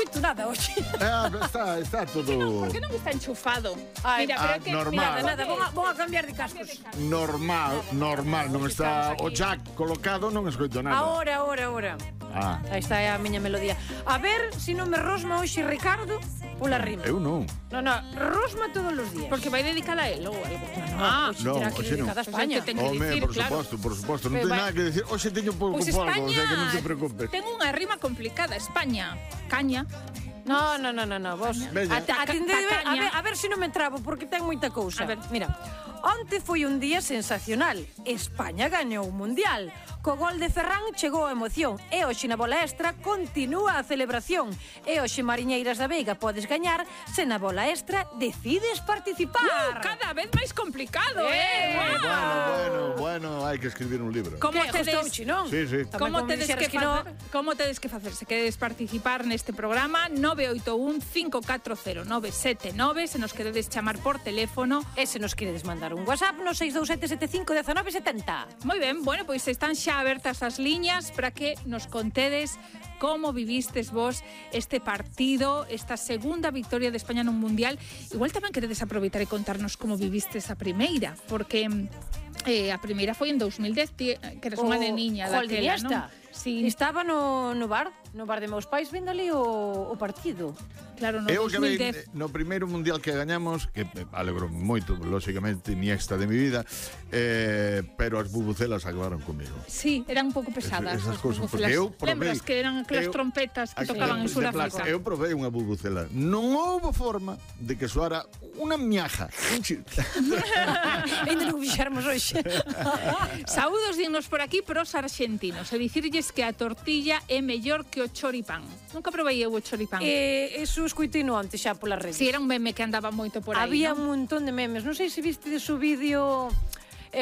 escoito nada hoxe. Está todo... Por que non está enchufado? Ai, Mira, pero é que... normal. Nada, vou a cambiar de cascos. Normal, non está o jack colocado, non escoito nada. Ahora. Aí está a miña melodía. A ver se non me rosma hoxe Ricardo pola rima. Eu non. Non, rosma todos os días. Porque vai dedicada a él ou algo. Hoxe terá que ir dedicada a España. Por suposto, non ten nada que decir. Hoxe teño pouco Pois polvo, o España... sea que non te preocupes. Ten unha rima complicada. España, caña. No, vos. Veña. Atendede, a ver se non me trabo, porque ten moita cousa. A ver. Mira, onte foi un día sensacional. España gañou o Mundial. Co gol de Ferran chegou a emoción. E hoxe na bola extra continúa a celebración. E hoxe, Mariñeiras da Veiga, podes gañar se na bola extra decides participar. Cada vez máis complicado, Bueno, hai que escribir un libro. Como Que gustouche, non? Sí. Como tedes que facer? Se queredes participar neste programa, 981-540-979, se nos queredes chamar por teléfono. E se nos queredes mandar un WhatsApp no 627-519-70. Moi ben, bueno, pois están xa abertas as liñas para que nos contedes como vivistes vos este partido, esta segunda victoria de España nun Mundial. Igual tamén queredes aproveitar e contarnos como vivistes a primeira, porque a primeira foi en 2010, que eres unha neniña daquela, non? Sí. Estaba no bar de meus pais vendo ali o partido. Claro, no Eu 2010. No primeiro mundial que gañamos, que alegro moito, lóxicamente, ni extra de mi vida, pero as bubucelas acabaron comigo. Sí, eran un pouco pesadas. Esas cousas, porque eu provei... Lembras que eran aquelas trompetas que tocaban en Sudáfrica? Eu provei unha bubucela. Non houbo forma de que soara unha miaja. Ainda non fixermos hoxe. Saúdos dignos por aquí pros argentinos. E dicirlles que a tortilla é mellor que o choripán. Nunca provei eu o choripán. Eso escoitino antes xa polas redes. Si, era un meme que andaba moito por aí. Había un montón de memes. Non sei se viste de su vídeo...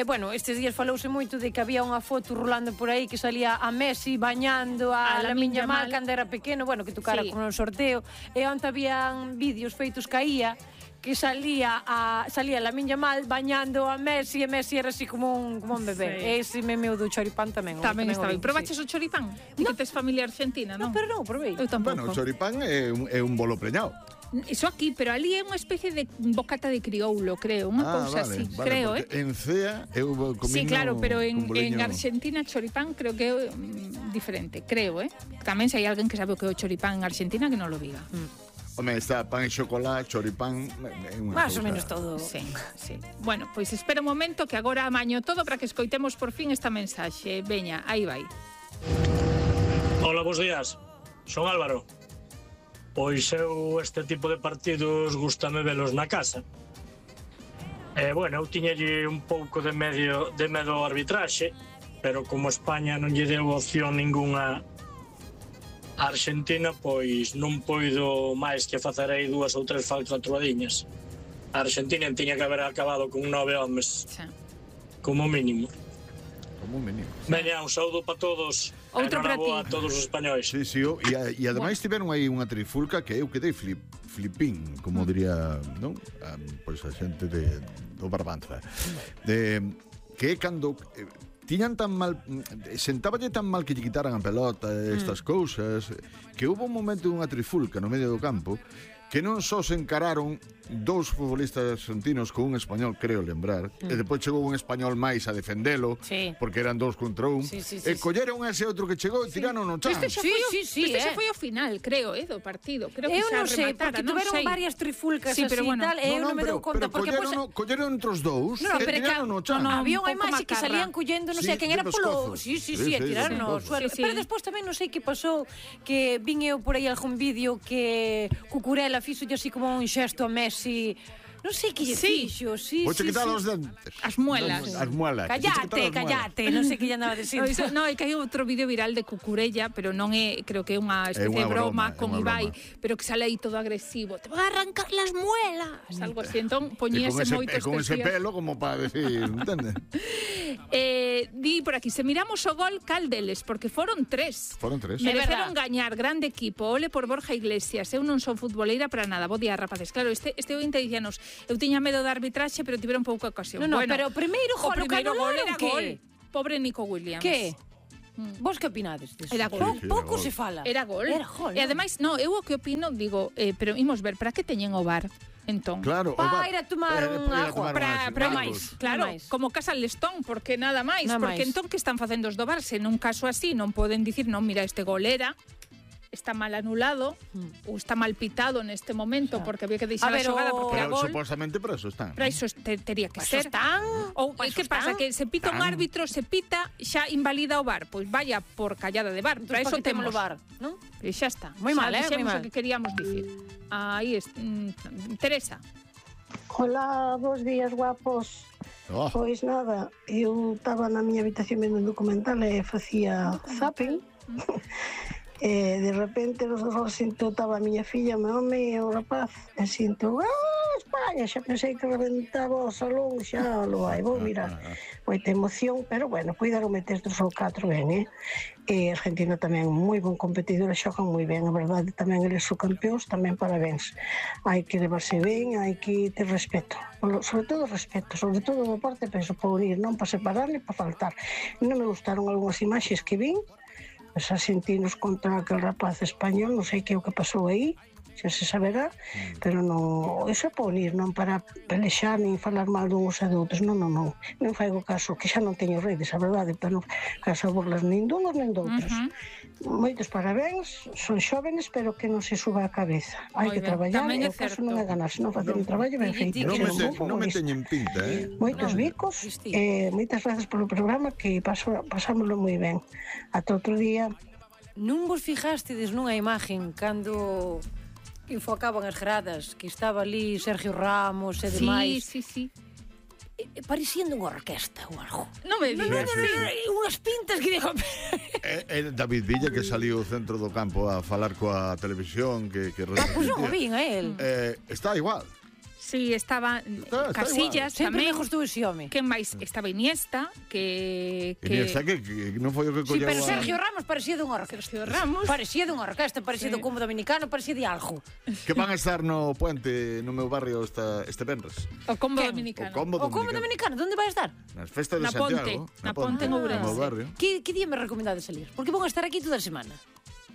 bueno, estes días falouse moito de que había unha foto rolando por aí que salía a Messi bañando a Lamine Yamal cando era pequeno, bueno, que tocara con un sorteo. E onte habían vídeos feitos caía que salía Lamine Yamal bañando a Messi e Messi era así como un bebé. Ese meme do choripán tamén. Tamén está ben. Probaches o choripán? Ti que tes familia argentina, non? Non, pero non, provei. Eu tampouco. Bueno, o choripán é un bolo preñado. Iso aquí, pero ali é unha especie de bocata de crioulo, creo, unha cousa así, creo, En CEA eu comino... Sí, claro, pero en Argentina choripán creo que é diferente, creo, Tamén se hai alguén que sabe o que é o choripán en Argentina que non lo diga. Home, está pan e chocolate, choripán... Más ou menos todo. Sí. Bueno, pois espera un momento que agora amaño todo para que escoitemos por fin esta mensaxe. Veña, aí vai. Hola, bons días. Son Álvaro. Pois eu este tipo de partidos gústame velos na casa. Bueno, eu tiñalle un pouco de medo ao arbitraxe, pero como España non lle deu opción ningunha a Argentina, pois non poido máis que facer aí 2 ou 3 faltas atrubadiñas. A Argentina tiña que haber acabado con 9 homes, como mínimo. Veña, un saúdo para todos. Outro para ti. A todos os españois. Sí, e ademais tiveron aí unha trifulca que eu quedei flipín, como diría, non? Pois a xente do Barbanza. Que é cando... tiñan tan mal, sentáballe tan mal que lle quitaran a pelota estas cousas, que houve un momento dunha trifulca no medio do campo que non só se encararon 2 futbolistas argentinos con un español, creo lembrar, e depois chegou un español máis a defendelo, porque eran 2 contra 1, e colleron ese outro que chegou e tiraron no chan. Este xa foi o final, creo, do partido. Creo que eu non sei, porque tuveron varias trifulcas así e tal, e eu non me dou conta, porque colleron entre os 2 e tiraron no chan. Había unha imaxe que salían collendo, non sei quen era polo... Sí, e tiraron no suelo. Pero despois tamén non sei que pasou, que vin eu por aí algún vídeo que Cucurella fixo así como un xesto a Messi, non sei que lle fixo. Vou quitar os dentes. As muelas. Callate, non sei que lle andaba a decir. No, é que hai outro vídeo viral de Cucurella, pero non é, creo que é unha especie de broma con Ibai, pero que sale aí todo agresivo. Te van a arrancar las muelas, algo así. Entón, poñíase moito con ese pelo como para decir, entende? Di por aquí, se miramos o gol, cal deles, porque foron 3. Mereceron gañar, grande equipo. Ole por Borja Iglesias. Eu non son futboleira para nada. Bo día, rapaces. Claro, este ointe dicíanos, eu tiña medo da arbitraxe, pero tiveron pouca ocasión. No, pero o primeiro gol era gol. Pobre Nico Williams. Que? Vos que opinades disso? Era gol. Pouco se fala. Era gol. Era gol. E ademais, no, eu o que opino, digo, pero imos ver, para que teñen o VAR? Entón, Claro, Pa ir a tomar un agua. para máis, claro, máis. como Casa Lestón, porque nada máis, Nada porque máis. entón que están facendo os do VAR, se nun caso así non poden dicir, non, mira, este gol está mal anulado ou está mal pitado neste momento porque había que deixar A ver, a xogada porque era Pero gol. supostamente para eso están. Para iso tería que Paso ser. están. Ou Paso que pasa? están. Que se pita un Tan. árbitro, se pita, xa invalida o VAR. Pois vaya por callada de VAR. Para Entón, eso pa que temos temos o VAR, non? E xa está. Moi mal, Xa dixemos moi mal. o que queríamos dicir. Aí Teresa. Hola, bons días, guapos. Oh, Pois nada, eu estaba na miña habitación vendo un documental e facía zapping. E de repente sinto, estaba a miña filla, meu home e o rapaz, e sinto, España, xa pensei que reventaba o salón, xa lo vai, vou mirar. Moita emoción, pero bueno, cuidado meter 3 ou 4 ben, E Argentina tamén moi bon competidor, xogan moi ben, a verdade, tamén eles son campeóns, tamén parabéns. Hai que levarse ben, hai que ter respeto, sobre todo do parte, penso, para unir, non para separar ni para faltar. Non me gustaron algunhas imaxes que vin, os argentinos contra aquel rapaz español, non sei que é o que pasou aí, xa se saberá, pero non, iso é para unir, non para pelexar nin falar mal duns e de outros, non faigo caso, que xa non teño redes, a verdade, pero non caso burlas nin dunos nin de outros. Moitos parabéns, son xóvenes, pero que non se suba a cabeza. Hai que traballar, e o caso non é ganar, senón facer un traballo ben feito. non me teñen pinta, Moitos bicos, moitas grazas polo programa, que pasámoslo moi ben. Ata outro día. Non vos fijastedes nunha imagen cando enfocaban as gradas, que estaba ali Sergio Ramos e demais? Sí. Parecían unha orquesta ou algo. Non me digas. Unhas pintas que digo... David Villa, que saliu ao centro do campo a falar coa televisión, que Pois non o vin a él. está igual. Sí, estaba Casillas Sempre tamén. me gustou ese home. Que máis? Estaba Iniesta, que Iniesta que non foi o que Sí, colleu pero Sergio Ramos parecía dunha orquesta. Sergio Ramos. Parecía dunha orquesta, parecía do Combo Dominicano, parecía de algo. que van a estar no puente no meu barrio este venres. O Combo Quen? Dominicano. O Combo Dominicano, onde vai estar? Nas festas de Na Santiago. Ponte, na Ponte en Ourense. No meu barrio. Que día me recomendades salir? Porque vão a estar aquí toda a semana.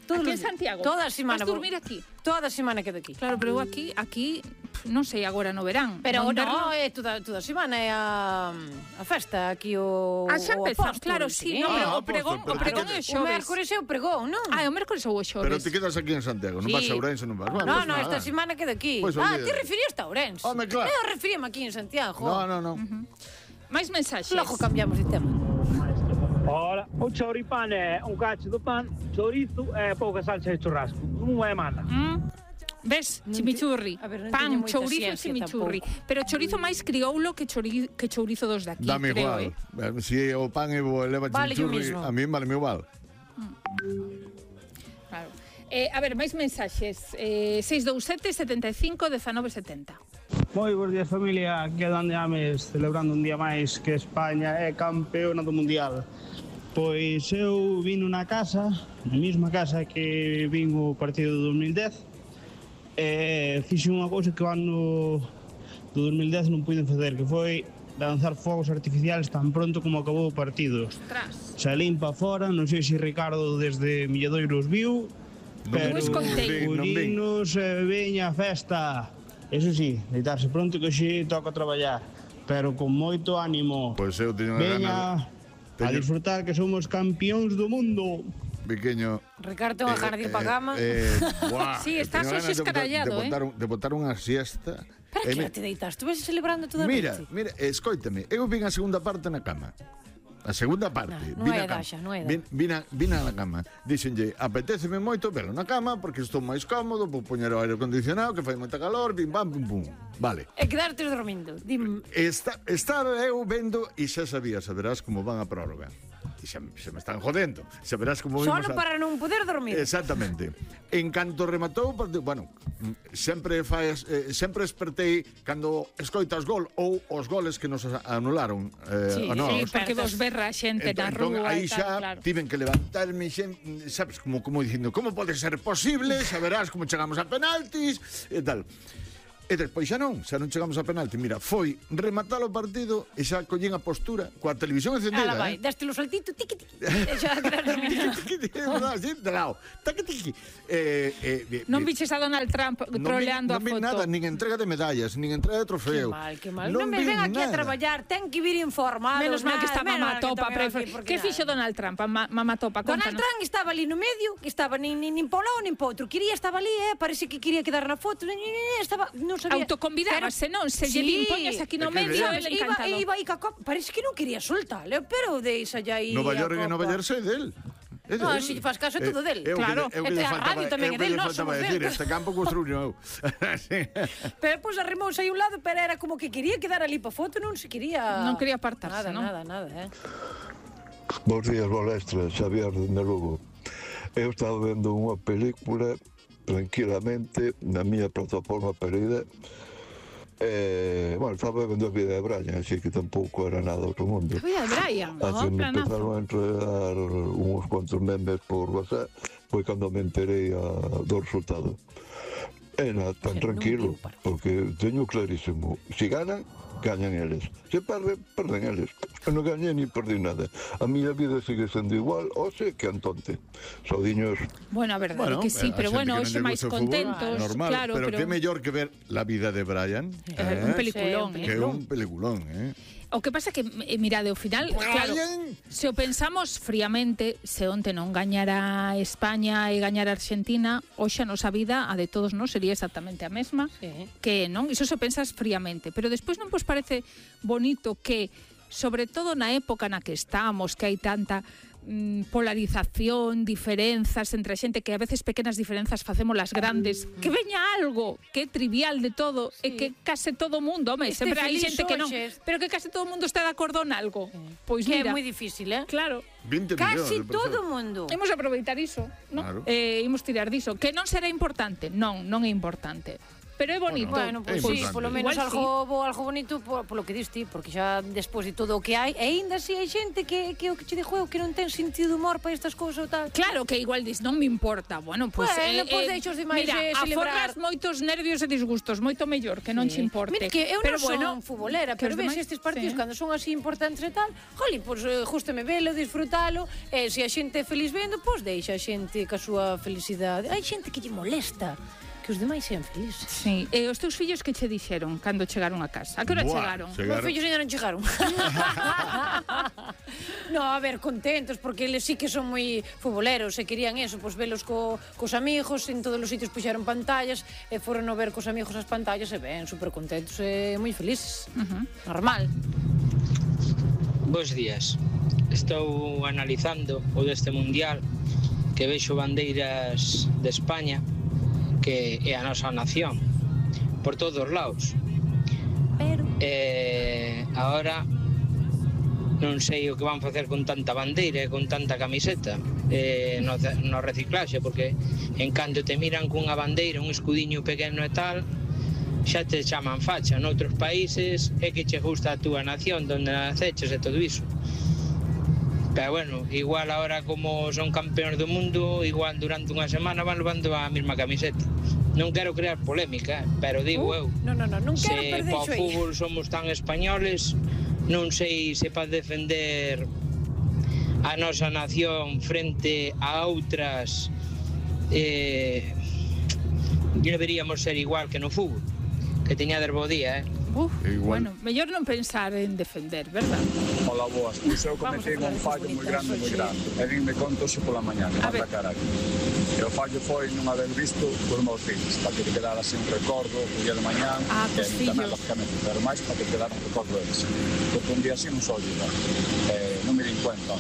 Todos Aquí os en días. Santiago? Toda a semana. Vas dormir aquí? Toda a semana quedo aquí. Claro, pero eu aquí non sei agora no verán. Pero no no, é toda a semana é a festa aquí o xa empezamos, Apóstol, claro, sí, no, pero o pregón é o xoves. O mércores é o pregón, non? O mércores ou o xoves. Pero te quedas aquí en Santiago, non vas a Ourense, non vas. Bueno, No, esta semana quedo aquí. Pois Te olvida. referías a Ourense. Home, claro. Eu referíame aquí en Santiago. No. Máis mensaxes. Logo cambiamos de tema. Ora, o choripán é un cacho do pan, chorizo e pouca salsa de churrasco. Non é mala. Ves, Non chimichurri. a ver, non Pan, teño moita chourizo e ciencia chimichurri. tampouco. Pero chorizo máis crioulo que chourizo dos daqui, Dame creo, igual. Si o pan leva Vale yo chimichurri, mismo. a mí vale igual. Claro. A ver, máis mensaxes. 627 75 19 70. Moi bons días, familia. Aquí é Dande Ames, celebrando un día máis que España é campeona do Mundial. Pois eu vino na casa, na mesma casa que vin o partido do 2010, e fixe unha cousa que o ano do 2010 non puiden facer, que foi lanzar fogos artificiales tan pronto como acabou o partido. Ostras. Salín pa fora, non sei se Ricardo desde Milladoiros viu, pero escoitei. Curinos veña a festa. Eso sí, deitarse pronto que hoxe toca traballar, pero con moito ánimo. Pois eu teño unha Veña gana a disfrutar que somos campións do mundo. pequeño. Ricardo, unha jardín pa cama. Sí, estás hoxe escarallado, de botar unha siesta. Para que te deitas? Tu ves celebrando toda a Mira, noite? escoítame, eu vin a segunda parte na cama. A segunda parte. Non vin é a cama. daxa, non é da. Vin na cama. Dixenlle, apetéceme moito velo na cama porque estou máis cómodo, vou poñer o aire acondicionado que fai moita calor, bim bam pum pum. Vale. E quedarte dormindo. Dim, Estar eu vendo e xa saberás como van a prórroga. E xa me están jodendo. Saberás como solo para non poder dormir. Exactamente. En canto rematou, bueno, sempre espertei cando escoitas gol ou os goles que nos anularon Sí, a nós. Sí, porque vos berra a xente na rúa aí e tal, xa claro. tiven que levantarme sabes, como dicindo, como pode ser posible? Saberás como chegamos a penaltis e tal. E despois xa non chegamos a penalti. Mira, foi rematar o partido e xa collín a postura coa televisión encendida. Ala vai, daste lo saltito, tiqui, tiqui. E xa quedaste dominado. Así, de lado. Taqui, tiqui. Non viches a Donald Trump troleando a foto? Non vi nada, nin entrega de medallas, nin entrega de trofeo. Que mal. Non me ven aquí a traballar, ten que vir informado. Menos mal que está Mamatopa. Que fixo Donald Trump? Mamatopa, Donald Trump estaba ali no medio, que estaba nin pa un lado, nin pa outro. Estaba ali, parece que quería quedar na foto. Estaba, non sabía. Autoconvidábase, non? Se lle impoñas aquí no medio, el encantado. Iba aí ca copa, parece que non quería soltarle, pero deixa ya aí. Nova York é del. No, se lle faz caso é todo del. Claro. E a radio tamén é del, non somos del. Este campo construíu. Pero pois arrimouse aí un lado, pero era como que quería quedar ali pa foto, non se quería... Non quería apartarse, non? Nada. Bos días, Bolestra, Xavier de Lugo. Eu estaba vendo unha película tranquilamente na miña plataforma preferida. Bueno, estaba vendo a vida de Brian, así que tampouco era nada outro mundo. A vida de Brian, me empezaron a entregar uns cuantos memes por WhatsApp, foi cando me enterei do resultado. Era tan tranquilo, porque teño clarísimo, se ganan, gañan eles. Se perden, perden eles. Eu non gañei ni perdi nada. A miña vida sigue sendo igual, hoxe que antonte. Saudiños. Bueno, a verdade que sí, pero bueno, hoxe máis contentos. Normal, claro, pero que mellor que ver la vida de Brian. Un peliculón, Que un peliculón, O que pasa que, mirade, ao final, claro, se o pensamos fríamente, se onte non gañara España e gañara Argentina, hoxe a nosa vida, a de todos nós, sería exactamente a mesma, que non, iso se o pensas fríamente, pero despois non vos parece bonito que, sobre todo na época na que estamos, que hai tanta polarización, diferenzas entre a xente, que a veces pequenas diferenzas facemos las grandes, que veña algo que é trivial de todo e que case todo o mundo, sempre hai xente que non, pero que case todo o mundo está de acordo en algo. Pois que mira, é moi difícil, Claro. 20 casi todo o mundo. Imos aproveitar iso, non? Claro. Imos tirar diso, que non será importante, non é importante. Pero é bonito. Bueno, pois sí, polo menos algo bonito polo que diste, porque xa despois de todo o que hai, e ainda así hai xente que o que che dixo que non ten sentido humor para estas cousas ou tal. Claro, que igual dis, non me importa. Bueno, pois deixos demais celebrar. Aforras moitos nervios e disgustos, moito mellor que non che importe. Mira, que eu non son futbolera, pero ves estes partidos cando son así importantes e tal, joli, pois gústame velo, disfrutalo, e se a xente é feliz vendo, pois deixa a xente ca súa felicidade. Hai xente que lle molesta que os demais sean felices. Sí. E os teus fillos que che dixeron cando chegaron a casa? A que hora chegaron? Os fillos ainda non chegaron. No, a ver, contentos, porque eles sí que son moi futboleros e querían eso, pois velos cos amigos, en todos os sitios puxeron pantallas e foron a ver cos amigos as pantallas e ben, super contentos e moi felices. Normal. Bos días. Estou analizando o deste mundial, que vexo bandeiras de España, que é a nosa nación, por todos os lados. Pero agora non sei o que van facer con tanta bandeira e con tanta camiseta no reciclaxe, porque en canto te miran cunha bandeira, un escudiño pequeno e tal, xa te chaman facha. Noutros países é que che gusta a túa nación, donde naceches e todo iso. Pero bueno, igual ahora como son campeóns do mundo, igual durante unha semana van levando a mesma camiseta. Non quero crear polémica, pero digo eu, non quero se perder para o fútbol somos tan españoles, non sei se para defender a nosa nación frente a outras deberíamos ser igual que no fútbol. Que teñades bo día, Bueno, mellor non pensar en defender, verdad? Hola, boas. Pois eu cometei un fallo moi grande. E vinme conto xe pola mañá, que mata caralho. E o fallo foi non haber visto por meus filhos, para que te quedara así un recordo o día de mañá, que tamén, lógicamente, pero máis para que quedara un recordo deles. Porque un día así non só olvidar. Non me din cuenta.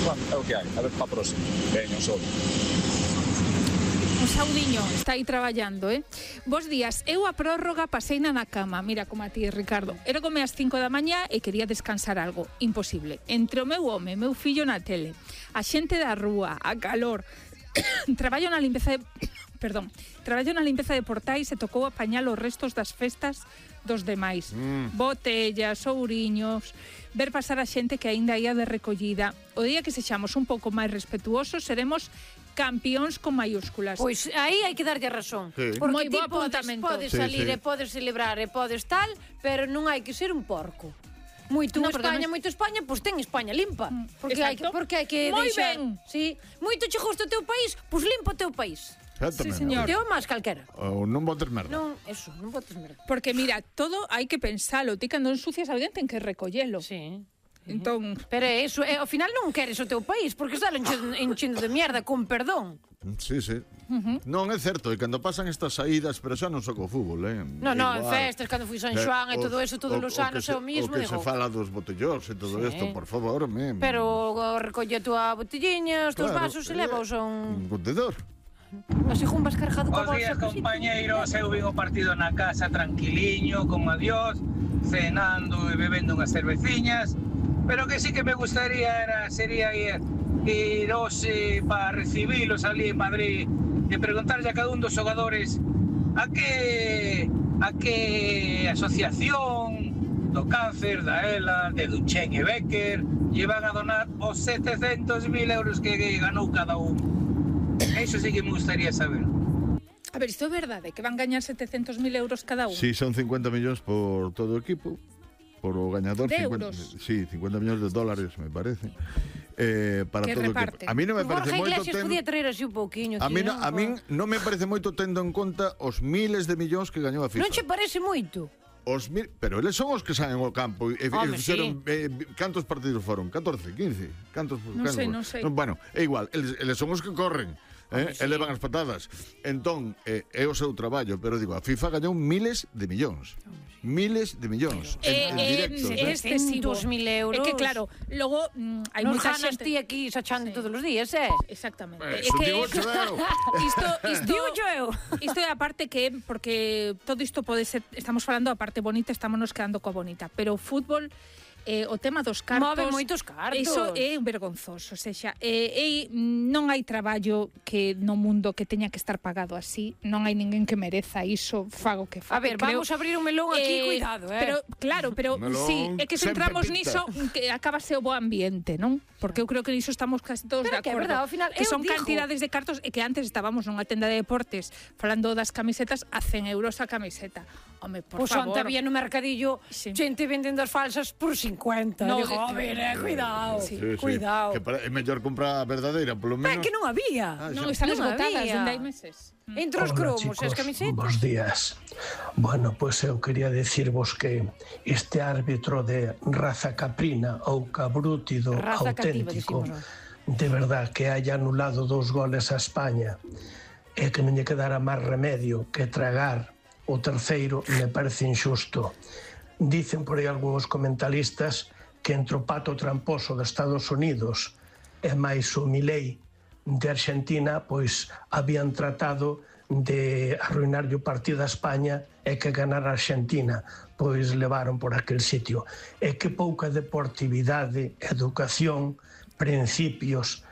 Bueno, é o que hai, a ver para a próxima. Veño, só. Un saudiño está aí traballando, Bos días, eu a prórroga paseina na cama. Mira como a ti, Ricardo. Era como as 5 da mañá e quería descansar algo. Imposible. Entre o meu home, meu fillo na tele, a xente da rúa, a calor. Traballo na limpeza de portais e tocou apañar os restos das festas dos demais. Botellas, ouriños, ver pasar a xente que aínda ia de recollida. O día que sexamos un pouco máis respetuosos, seremos campeóns con mayúsculas. Pois aí hai que darlle a razón. Porque Moi bo ti apuntamento. podes salir e podes celebrar e podes tal, pero non hai que ser un porco. Moito España, pois ten España limpa. Porque hai que Moi deixar. ben. Sí. Moito che gusta o teu país, pois limpa o teu país. Sí, señor. Teo máis calquera. Ou non botes merda. Non, eso, non botes merda. Porque mira, todo hai que pensalo. Ti cando ensucias alguén ten que recollelo. Sí. Entón, pero eso, ao final non queres o teu país, porque está enchendo de mierda, con perdón. Sí. Non, é certo, e cando pasan estas saídas, pero xa non só co fútbol, Non, en festas, cando fui San Xoán e todo eso, todos os anos é o mismo. O que se fala dos botellóns e todo isto, por favor, pero recolle a tua botelliña, os teus vasos e levaos a un contedor. Así jumbas cargado co bolsa. Os días, compañeiros, eu vin o partido na casa tranquiliño, con adiós, cenando e bebendo unhas cerveciñas, pero que sí que me gustaría sería ir hoxe para recibilos ali en Madrid e preguntarlle a cada un dos xogadores a que asociación do cáncer, da ELA, de Duchen e Becker lle van a donar os 700.000 euros que ganou cada un. Eso sí que me gustaría saber. A ver, isto é verdade, que van gañar 700.000 euros cada un. Sí, son 50 millóns por todo o equipo. Por o gañador, de euros. Sí, 50 millóns de dólares, me parece. Para que todo reparten. A mí non me parece Jorge moito Iglesias podía traer así un pouquiño. A mí non me parece moito tendo en conta os miles de millóns que gañou a FIFA. Non che parece moito? Pero eles son os que saen ao campo e fixeron cantos partidos foron? 14, 15? Non sei. Bueno, é igual, eles son os que corren. Elevan as patadas. Entón, é o seu traballo, pero digo, a FIFA gañou miles de millóns. Miles de millóns en directo. É excesivo. 2.000 euros. É que claro, logo hai nos moita ganas xente ti aquí sachando todos os días, Exactamente. Isto digo eu. Isto é a parte que porque todo isto pode ser, estamos falando a parte bonita, estamos nos quedando coa bonita, pero o fútbol o tema dos cartos move moitos cartos. Iso é vergonzoso, sexa, non hai traballo que no mundo que teña que estar pagado así, non hai ninguén que mereza iso, fago que fago. A ver, vamos a abrir un melón aquí, cuidado, Pero claro, sí, é que se entramos niso que acabase o bo ambiente, non? Porque eu creo que niso estamos casi todos de acordo. Verdad, ao final, que son cantidades de cartos e que antes estábamos nunha tenda de deportes falando das camisetas a 100 euros a camiseta. Home, por favor. Pois onte había no mercadillo xente vendendo as falsas por 50. No, digo, a ver, cuidado. Cuidado. Que é mellor comprar a verdadeira, polo menos. É que non había. Non, están esgotadas dende hai meses. Entre os cromos e as camisetas. Bos días. Bueno, pois eu quería decirvos que este árbitro de raza caprina ou cabrútido auténtico, de verdad, que haya anulado 2 goles a España e que non lle quedara máis remedio que tragar o terceiro, me parece injusto. Dicen por aí algúns comentaristas que entre o pato tramposo de Estados Unidos e máis o Milei de Argentina, pois habían tratado de arruinar o partido a España e que ganar a Argentina, pois levaron por aquel sitio. E que pouca deportividade, educación, principios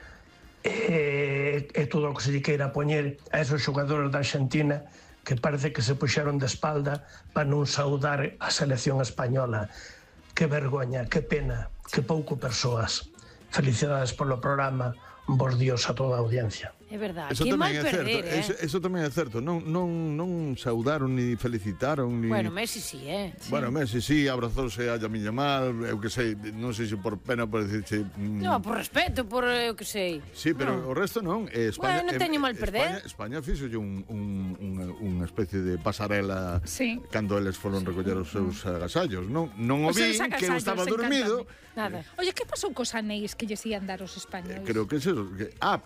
e todo o que se lle queira poñer a esos xogadores da Argentina que parece que se puxeron de espalda para non saudar a selección española. Que vergoña, que pena, que pouco persoas. Felicidades polo programa, bos días a toda a audiencia. É verdade, que mal perder, Eso tamén é certo, non saudaron ni felicitaron ni... Bueno, Messi sí, Bueno, Messi sí, abrazouse a Lamine Yamal, eu que sei, non sei se por pena por dicirche... No, por respeto, por eu que sei. Sí, pero o resto non. Bueno, non teño mal perder. España fixolle unha especie de pasarela cando eles foron recoller os seus agasallos, non o vi, que eu estaba dormido. Nada. Oye, que pasou cos anéis que lles ian dar os españoles? Creo que é eso.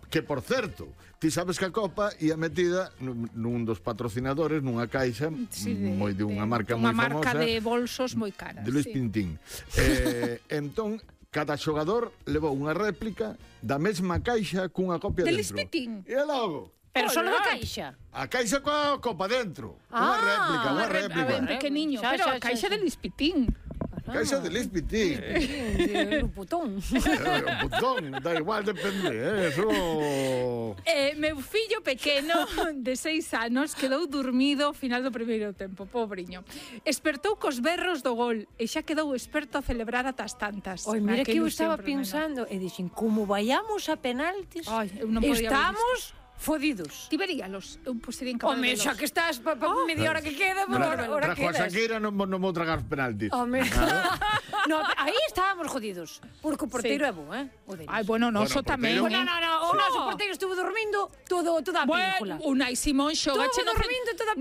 Que por certo, ti sabes que a Copa ia metida nun dos patrocinadores, nunha caixa moi de unha marca moi famosa. Unha marca de bolsos moi cara. De Luis Pintín. Entón, cada xogador levou unha réplica da mesma caixa cunha copia dentro. De Luis Pintín. E logo... Pero só da caixa. A caixa coa copa dentro. Unha réplica. A ver, pequeniño, pero a caixa de Luis Pintín. Caixa de Lispitín. Un putón. Un putón, da igual, depende, eso... Meu fillo pequeno de 6 anos quedou dormido ao final do primeiro tempo, pobriño. Espertou cos berros do gol e xa quedou experto a celebrar atas tantas. Oi, mira que eu estaba pensando e dixen, como vayamos a penaltis, estamos fodidos. Ti veríalos, eu sería incapaz de velos. Home, xa que estás media hora que queda, hora quedas. Trajo a Shakira non vou tragar os penaltis. Home, no, aí estábamos jodidos, porque o porteiro é bo, Ai, bueno, noso tamén. O noso porteiro estuvo dormindo toda a película. Unai Simón xogache dormindo toda a